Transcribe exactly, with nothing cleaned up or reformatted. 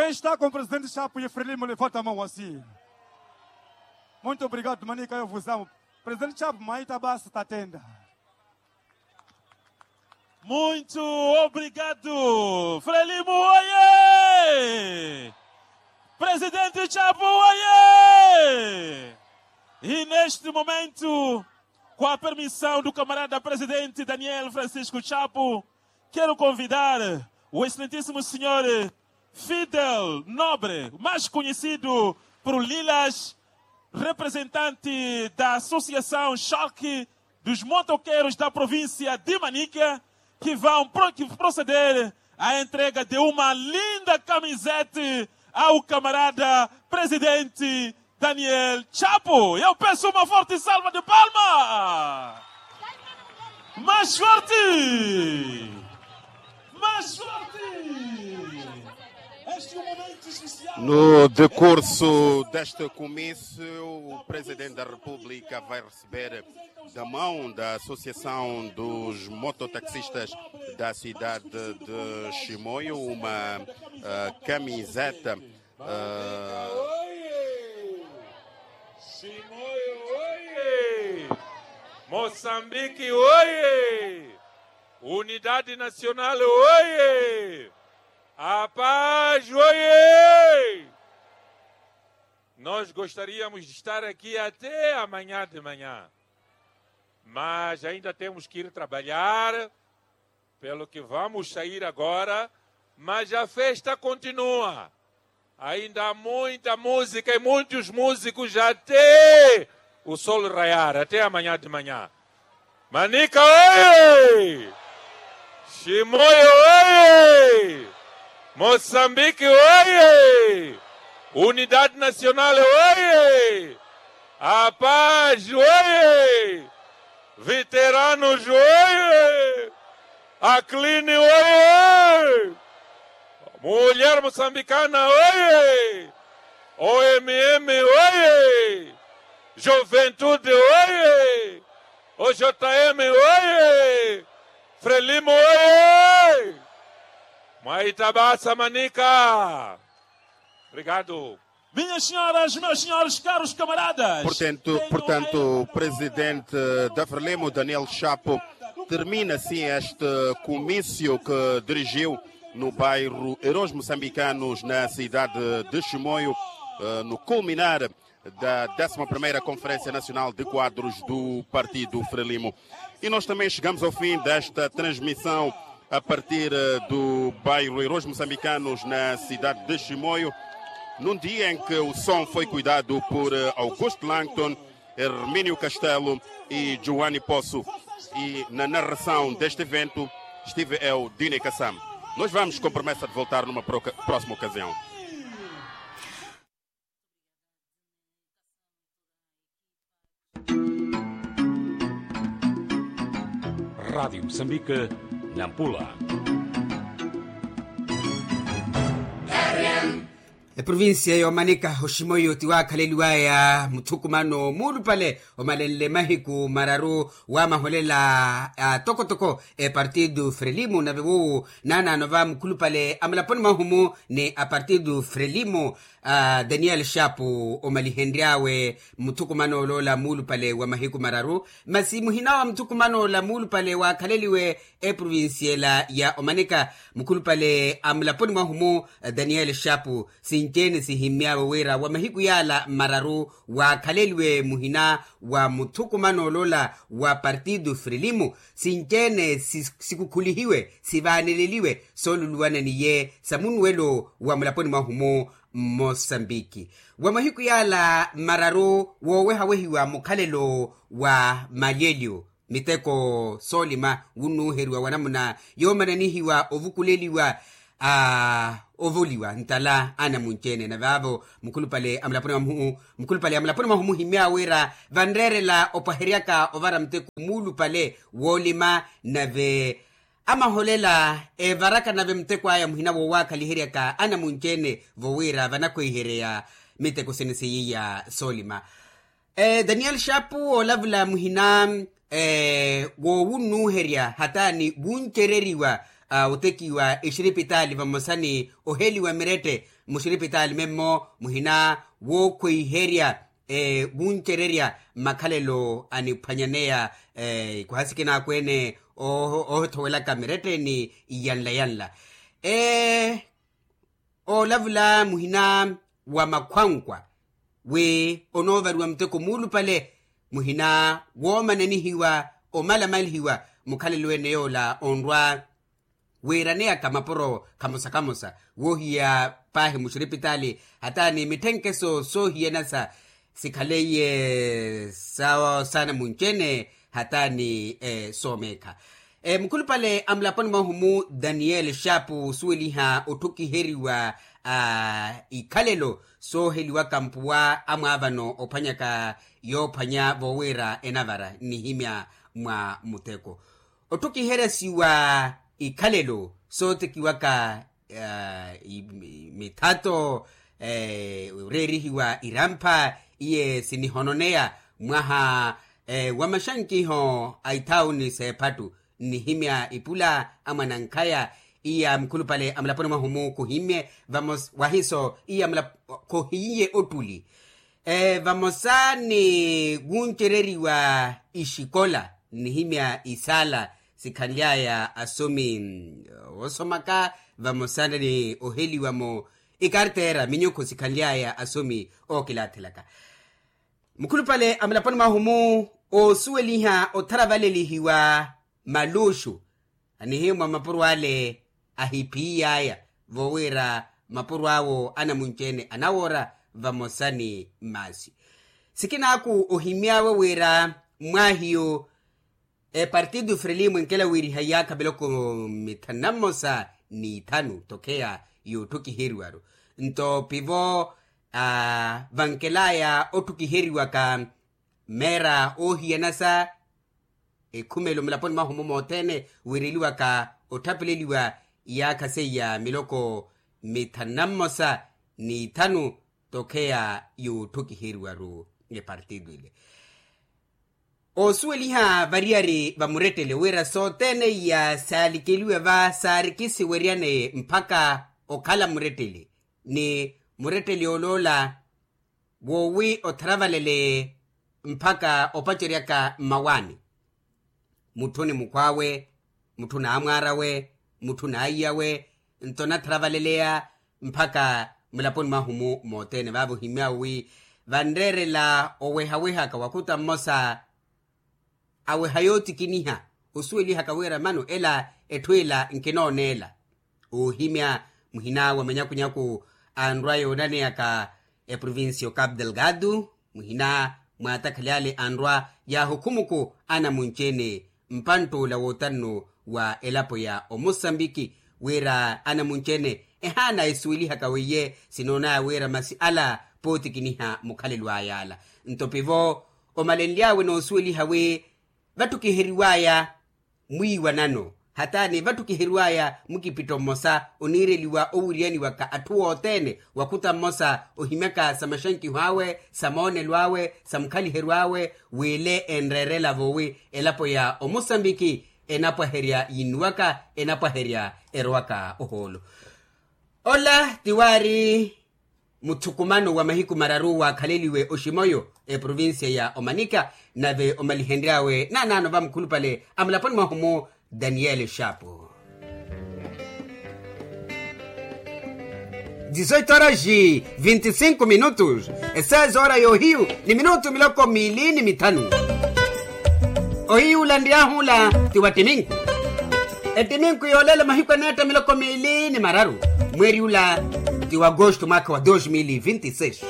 Esta com presidente chapo e frelimo levanta a mão assim. Muito obrigado manika yovuzamu. Presidente chapo maita basi tatenda. Muito obrigado. Frelimo oye. Presidente chapo oye. E neste momento, com a permissão do camarada presidente daniel francisco chapo, quero convidar o excelentíssimo senhor fidel nobre, mais conhecido por lilas, representante da associação choque dos motoqueiros da província de manica, que vão proceder à entrega de uma linda camiseta ao camarada presidente daniel chapo. Eu peço uma forte salva de palma. Mais forte. Mais forte. Este é um momento especial. No decurso deste comício, o presidente da república vai receber da mão da associação dos mototaxistas da cidade de chimoio uma camiseta. Oi. Chimoio oi. Moçambique oi. Unidade nacional oi. A paz oi. Nós gostaríamos de estar aqui até amanhã de manhã, mas ainda temos que ir trabalhar, pelo que vamos sair agora, mas a festa continua. Ainda há muita música e muitos músicos até o sol raiar, até amanhã de manhã. Manica oi. Chimoio oi. Moçambique oi. Unidade nacional oi. A paz oi. Veteranos oi. A cline oi. Mulher moçambicana oi. Omm oi. Juventude oi. Ojm oi. Frelimo oi. Mwaita basa manika. Obrigado. Minhas senhoras, meus senhores, caros camaradas. Portanto, portanto, o presidente da frelimo daniel chapo termina assim este comício que dirigiu no bairro heróis moçambicanos na cidade de chimoio, no culminar da décima primeira conferência nacional de quadros do partido frelimo. E nós também chegamos ao fim desta transmissão a partir do bairro heróis moçambicanos na cidade de chimoio, num dia em que o som foi cuidado por augusto langton, hermínio castelo, e joanne poço. E na narração deste evento estive eu, dine kassam. Nós vamos com promessa de voltar numa próxima ocasião. Rádio moçambique, nampula. Eprovincia y'omanika oximoyo ti waakhaleliwaya muthukumano muulupale omalenle mahiku mararu wamaholela atokotoko epartido frelimo nave woowo naanaano va mukhulupale amulaponi mwahumu ni apartido frelimo. Daniel shapu omalihenry'awe muthukumano oloola muulupale wa mahiku mararu. Masi muhina wa muthukumano ola muulupale waakhaleliwe eprovincia ela ya omanika mukhulupale a mulaponi mwahu-mu daniel shapu sinci-ene sihimmy'awe wira wa mahiku yaala mararu waakhaleliwe muhina wa muthukumano oloola wa partido frelimo. Sinci-ene sikukhulihiwe sivaaneleliwe sooluluwana n'iye sa munuwelo wa mulaponi mwahu-mu mmosambiki wa mahiku yaala mararu woowehawehiwa mukhalelo wa malyelyo miteko soolima wunnuuheriwa wa namuna yoomananihiwa ovukuleliwa a ovoliwa ntala anamunci-ene na vaavo mukhulupale a mulaponi mwahu-mu mukhulupale a mulaponi mwahu-mu himmy'awe wira vanreerela opwaheryaka ovara muteko muulupale woolima nave amaholela evaraka nave muteko aya muhina woowaakhaliheryaka anamunci-ene vo wira vanakhweiherya miteko sene seiya soolima. Daniel shapu oolavula muhina woowunnuuherya hataani wuncereriwa Otekiwa exiripitaali vamosa ni oheliwa mirette muxiripitaali memmo muhina wookhweiherya wuncererya makhalelo aniphwanyaneya ikuha sikina akweene oohithowelaka mirette ni iyanla yanla. Oolavula muhina wa makhwankwa wi onoovariwa muteko muulupale muhina woomananihiwa omalamalihiwa mukhalelo ene yoola onrwa wiiraneyaka mapuro kamosa kamosa woohiya paahi muxiripitaali hata ni mitthenkeso soohiyanasa sikhaleiye sawo saana munci-ene hata ni soomeekha. Mukhulupale a mulaponi mwahu-mu daniel xaapu osuweliha otthukiheriwa a ikhalelo sooheliwaka mpuwa amwaavano ophwanyaka yoophwanya voowira enavara nnihimya mwa muteko otthukiheryasiwa ikhalelo sootekiwaka mithato oreerihiwa irampha iye sinihononeya mwaha wa maxankiho a ithauni s'ephattu nnihimya ipula amwanankhaya iya mukhulupale a mulaponi mwahu-mu khuhimmye vamos wahiso iya mulaponi khuhimmye ottuli vamosa ni wuncereriwa ixikola nnihimya isaala sikhanly'aya asomi woosomaka vamosa ni oheliwa-mo ikartera minyukhu sikhanly'aya asomi ookilaathelaka. Mukhulupale a mulaponi mwahu-mu oosuweliha otharavalelihiwa maluxu anihimwa mapuro ale ahiphiy'aya voowira mapuro awo anamunci-ene anawoora vamosa ni mmaasi sikinaaku ohimy'awe wira mmwaahiyu epartido frelimo enkela wiiriha iyaakha miloko mithanu na mmosa n'ithanu tokheya yootthukiheryiwaru nto pivo vankel'aya otthukiheryiwaka mmeera oohiyanasa ekhumelo mulaponi mwahu-mu mothene wiireliwaka otthapeleliwa iyaakha seiya miloko mithanu na mmosa n'ithanu tokheya yootthukiheryiwaru epartido ile oosuweliha variyari va murettele wira sothene iya saalikeliwe va saarikisiweryane mpakha okhala murettele ni murettele oloola woowi otharavalele mpakha opaceryaka mmawaani mutthu ni mukhw'awe mutthu n'amwaar'awe mutthu n'aiyawe nto onatharavaleleya mpakha mulaponi mwahu-mu mothene vaavo ohimy'awe wi vanreerela owehawehaka wakhuta mmosa aweha yootikiniha osuwelihaka wira mano ela etthu ela nkinooneela oohimya muhina wa manyakunyaku anrwa yoonaneyaka eprovincia o capu delgado muhina mwaatakhaly'ale anrwa yaahukhumuku anamunci-ene mpantt'ula wootanno wa elapo ya omosambiki wira anamunci-ene ehaana esuwelihaka weiye sinoonaya wira masi ala pootikiniha mukhalelo ay'ala nto pivo omalenly'awe noosuweliha wi vatthukiheriw'aya mwiiwanano hataani vatthukiheriw'aya mukipitto mmosa oniireliwa owiriyaniwaka atthu othene wakhuta mmosa ohimyaka sa maxankiho awe sa moonelo awe sa mukhaliheryo awe w'ile enreerela voowi elapo ya omosambiki enapwaherya yinnuwaka enapwaherya erowaka ohoolo ola ti waari muthukumano wa mahiku mararu waakhaleliwe oximoyo eprovincia ya omanika nave omalihenry'awe naanaano vamukhulupale a mulaponi mwahu-mu daniel xaapu dizoito horas vinti cinco minutos eseis hora yoohiyu ni minutu miloko miili ni mithanu ohiyu ula nriy'ahu ula ti wa ttiminku ettiminku yoolela mahiku eneetta miloko miili ni mararu mweeri ula ti wa agosto mwaakha wa dos mil vinti seis